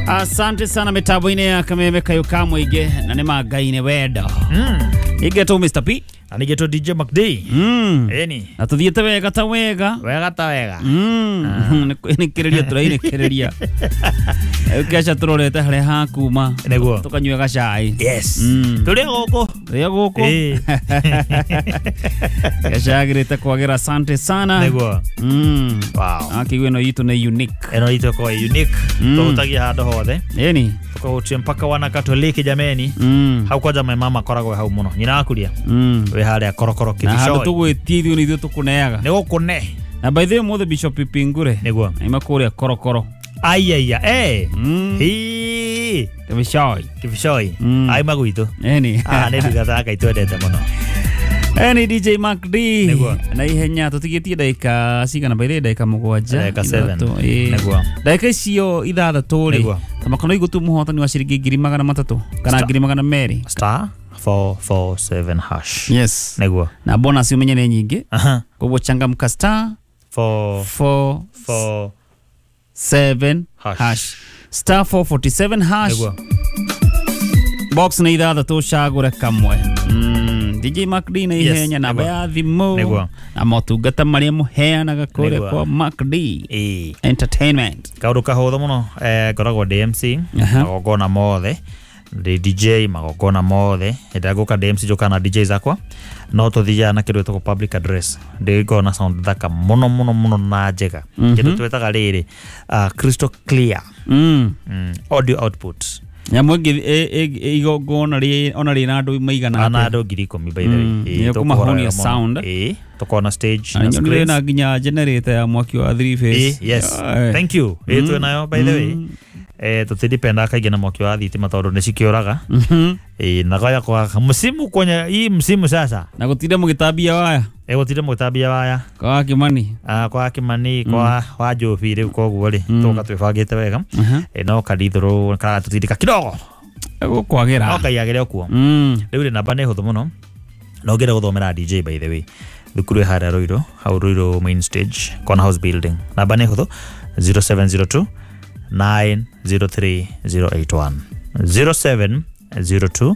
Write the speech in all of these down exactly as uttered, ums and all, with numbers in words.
Asante sana mitambo-inĩ ya Kameme Kayũ ka mũingĩ na nĩ ma Ngai nĩ wendo. Mm. Igetwo Mister P. Na nigetwo D J McD. Mm. Eni. Na tuthiĩte wega ta wega. Wega ta wega. Mm. Nĩ kĩrĩria tũrainĩkĩrĩria. Ũkĩaca tũrorete harĩa hakuma. Nĩguo. Tũkanyua gacai. Yes. Mm. Tũrĩ gũkũ. Tũrĩ gũkũ. Gacagĩrĩte kwagĩra, asante sana. Nĩguo. Mm. Wow. Akĩigua ĩno itũ nĩ unique. Ĩno itũ ĩkoragwo unique. Mm. Tũhutagia handũ hothe. Ĩni. Tukahutia mpaka wana Katoliki jameni. Mm. Hau kwanja my mama akoragwo hau mũno. Nyina wakuria. Mm. Wĩ harĩa korokoro Na handũ kĩbicoi. tũgwĩtie ithuĩ nĩ ithuĩ tũkũneaga. Nĩ gũkũne. Na by the way mũthĩ Bishop Pingure. Nĩguo. Aima kũrĩa korokoro. Aiya eh. Mm. Hii. Kĩbicoi. Kĩbicoi. Mm. Aima gwitũ. Ĩni. Ah, nĩ ndungata ya Ngai twendete mũno. Eni D J Mac D. Nĩguo. Na ihenya tũtigĩtie ndagĩka cigana by the way ndagĩka mũgwanja. Ndagĩka seven. Ithatũ, ĩĩ. Nĩguo. Ndagĩka icio ithathatũ rĩ. Nĩguo. Tamakono igũtu mũhotani wa ciringi ngiri magana matatũ kana Star. ngiri magana merĩ. Star four four seven hash. Yes. Nĩguo. Na bonus umenye nĩ nyingĩ. Aha. Koguo changamka star four four four seven Hash. hash. Star four forty-seven hash. Nĩguo. Box nĩ ithathatũ cagũre kamwe. Mm. D J Mac D na Yes, ihenya namba nĩguo. ya thimũ Nĩguo. na motungata marĩa mũheanaga kũrĩa Nĩguo. kwa Mac D Ĩĩ. Entertainment. Kaũndũ kahũthũ mũno eh, ngoragwo ndĩ M C Aha. magongona mothe ndĩ D J magongona mothe hĩndĩ ĩrĩa ngũka ndĩ M C njũkaga na D J zakwa no tũthiaga na kĩndũ gĩtagwo public address ndĩngoragwo na sound thaka mũno mũno mũno na njega kĩndũ twĩtaga rĩrĩ uh, crystal clear Mm. mm, audio output Nyamũ ĩngĩ ĩ- ĩ- igongona rĩ ona rĩna andũ maigana ana atĩa? andũ ngiri ikũmi by the way Mm, Ĩĩ, nĩ tũkũhora ũkũmahonia wega mũno. sound. Ĩĩ, tũkorwo na stage Na na nyonire screens. na nginya generator ya mwaki wa three phase. Ĩĩ, yes Aye. thank you ĩĩ twĩ nayo by the way eh tũtidipendaga kaingĩ na mwaki wa thitima tondũ nĩ cikĩũraga Mhm. ĩĩ na goya kwa msimu kwenye hii msimu sasa Na gũtinda mũgĩtambia waya ĩ gũtinda mũgĩtambia waya kwa Kimani. Ah, kwa Kimani kwa wa Njobi rĩu koguo rĩ tũka twĩbangĩte wega Aha. ĩ no karithũrũ karagatũtindĩka kidogo Gũkwagĩra. no kaiagĩre okuo Mm. rĩu rĩ namba nĩ hũthũ mũno no ngĩenda gũthomera D J by the way thukuru ĩ harĩa Ruiru hau Ruiru main stage corner house building namba nĩ hũthũ zero seven zero two nine zero three zero eight one zero seven zero two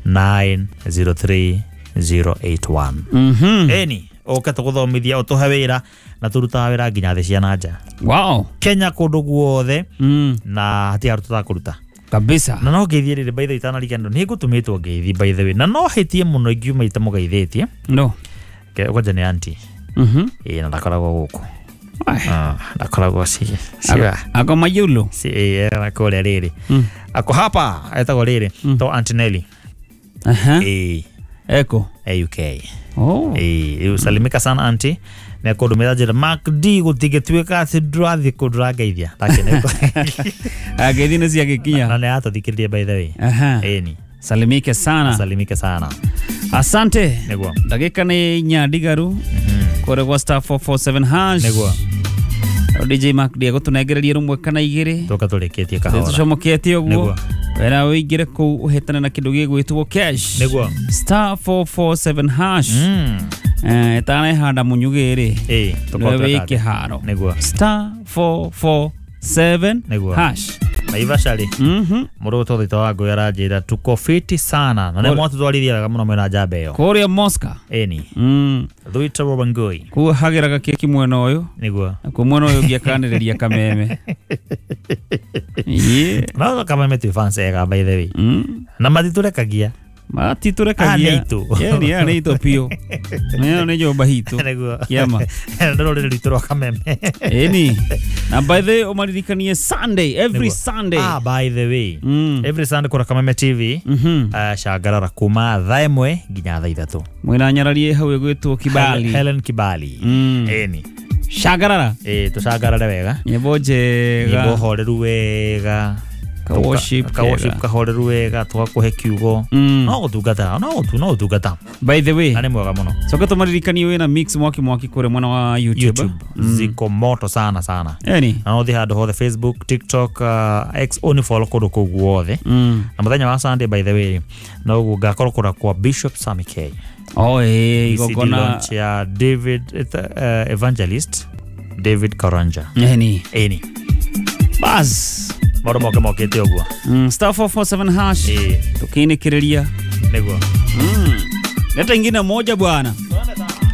nine zero three zero eight one Mhm. ĩni ũke tũgũthomithia ũtũhe wĩra na tũrutaga wĩra nginya thĩ cia na nja Wow. Kenya kũndũ guothe Mm. na hatirĩ handũ tũtakũruta Kabisa. na no ngeithie rĩrĩ by the way itanariganĩrwo nĩ ngũtũmĩtwo ngeithi by the way na no hĩtie mũno ingiuma itamũgeithĩtie No. kwanja nĩ auntie Mhm. ĩĩ na ndakoragwo gũkũ Ai. Ah, ndakoragwo ci ciwa Ako mayulu. si ĩĩ kũrĩa rĩrĩ Mm. ako hapa etagwo rĩrĩ to Auntie Nelly Aha. ĩĩ Eko. e U K Oh. ĩĩ rĩu salimika sana auntie nĩ akũndũmĩra njĩra Mac D gũtingĩtuĩka atĩ ndũrathiĩ kũndũ ũrangeithia ndakenetwo Ngeithi nĩ ciagĩkinya. na nĩ atũthikĩrĩria by the way Aha. ĩni Salimike sana. salimike sana Asante. nĩguo Ndagĩka nĩ inya ndigaru kũrĩa gwa star four four seven hash. nĩguo D J Mac D agũtũnengereria rũmwe kana igĩrĩ. tũka tũrĩkĩtie kahora Tũcomoketie ũguo. Nĩguo. Wena ũingĩre kũu ũhĩtane na kĩndũ gĩgwĩtwo cash. Nĩguo. Star four four seven hash. Mm. Eh, ĩtanehanda mũnyugĩ rĩ. ĩĩ Nĩwe wĩ kĩharo. nĩguo Star four four seven Nĩguo. hash. Naivasha rĩ Mhm. mũndũ ũtũthĩte wa ngũĩ aranjĩra tuko fiti sana na nĩ mwatũtwarithia wega mũno mwĩna njamba ĩyo Kũrĩa Moscow. ĩni Mm. Thuita Wangui Kũu hagĩraga keki mwena ũyũ. nĩguo Nakuo mwena ũyũ ũngĩ akanĩrĩria kameme. Ĩĩ. no kameme twĩ fans ega by the way Mm. na matitũrekagia Matitũrekagia. Ah, nĩ itũ. Ĩni, aya nĩ itũ biũ. Ĩno nĩ nyũmba hitũ. nĩguo Kĩama. nĩ rũrĩrĩ rwitũ rwa kameme Ĩni. Na by the way ũmaririkanie Sunday, every Nĩguo. Sunday. ah by the way Mm. every Sunday kũra Kameme T V Mhm. uh, cangarara kuma thaa ĩmwe nginya thaa ithatũ Mwĩna nyararie hau ĩgwĩtwo Kibali. Helen Kibali Mm. ĩni Cangarara. ĩĩ tũcangarare wega Nyĩmbo njega. nyĩmbo horeru wega Ka worship ka worship kega. kahoreru wega tũgakũhe kiugo Mm. no gũtungata no gũtu no gũtungata By the way, na nĩ mwega mũno coka tũmaririkanie wĩna mix mwaki mwaki kũrĩa mwena wa YouTube. YouTube ziko moto sana sana Ĩni. na no ũthiĩ handũ hothe Facebook TikTok uh, X ũni follow kũndũ kũu guothe Mm. na mũthenya wa Sunday by the way noguo ngakorwo kũra kwa Bishop Sammy K Oh, ĩĩ, E C D igongona. launch ya David uh, Evangelist David Karanja Ĩni. ĩni Bas. Maũndũ moke mokĩte ũguo. Mm, star four four seven hash. Ĩĩ. Tukiinikiria. Nĩguo. Mm. Leta ingine moja bwana.